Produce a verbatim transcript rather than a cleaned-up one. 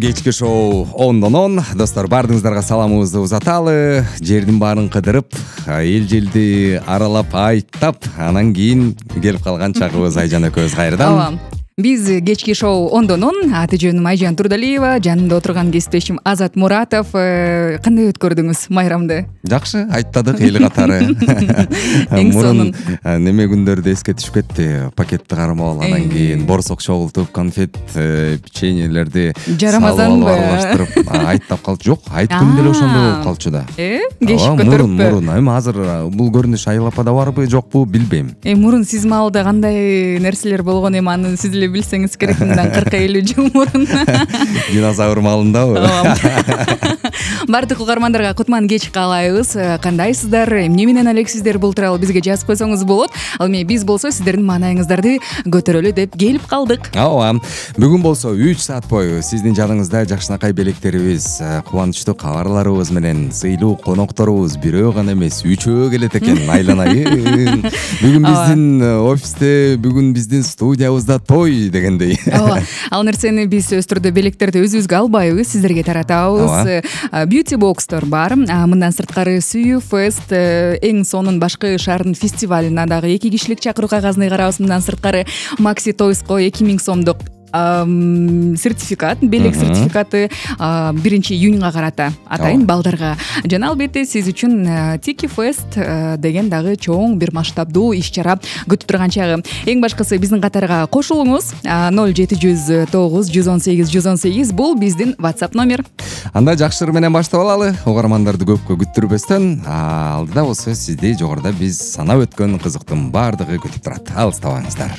Кечки шоу ондон он. Достор, баардыгыңыздарга саламыбызды узаталы. Жердин баарын кыдырып, эл желди аралап, айттап, анан кийин келип калган чагыбыз Айжан экөөбүз кайрадан. Ооба. Биз кечки шоу ондон он. Аты жөнүм Айжан Турдалиева, жанымда отурган кесиптешим Азат Муратов. Кандай өткөрдүңүз майрамды? Жакшы, айттадык эл катары. Эң сонун. Неме күндөрдү эске түшүп кетти. Пакетти кармап, анан кийин борсок чогултуп, конфет, печеньелерди жарамазанбы аралаштырып айттап калчу. Жок, айт күнү деле ошондой болуп калчу да. Э, кешип көтөрүппү. Мурун, эми азыр бул көрүнүш Айылапада барбы, жокпу билбейм. Э, мурун сиз маалда кандай нерселер болгон, эми аны сиз эле билсеңиз керек, мындан кырк элүү жыл мурун. Динозавр маалындабы? Бардык угармандарга кутман кеч каалайбыз. Кандайсыздар? Эмне менен элексиздер? Бул тууралуу бизге жазып койсоңуз болот. Ал эми биз болсо сиздердин маанайыңыздарды көтөрөлү деп келип калдык. Ооба. Бүгүн болсо үч саат бою сиздин жадыңызда жакшынакай белектерибиз, кубанычтуу кабарларыбыз менен сыйлуу конокторубуз бирөө гана эмес, үчөө келет экен, айланайын. Бүгүн биздин офисте, бүгүн биздин студиябызда той дегендей. Ооба. Ал нерсени биз өз түрдө белектерди өзүбүзгө албайбыз, сиздерге таратабыз. Beauty Box'тор бар. Мындан сырткары Сүйүү Фест, эң сонун башкы шаардын фестивалына дагы эки кишилик чакыруу кагазын карабыз. Мындан сырткары Maxi Toys'ко эки миң сомдук сертификат, белек сертификаты биринчи июньга карата атайын балдарга. Жана албетте сиз үчүн Tiki Fest деген дагы чоң бир масштабдуу иш-чара күтүп турган чагы. Эң башкысы биздин катарга кошулуңуз. ноль жети жүз тогуз жүз он сегиз жүз он сегиз бул биздин WhatsApp номер. Анда жакшы ыр менен баштап алалы. Угармандарды көпкө күттүрбөстөн, алдыда болсо сизди жогоруда биз санап өткөн кызыктын баардыгы күтүп турат. Алыстабаңыздар.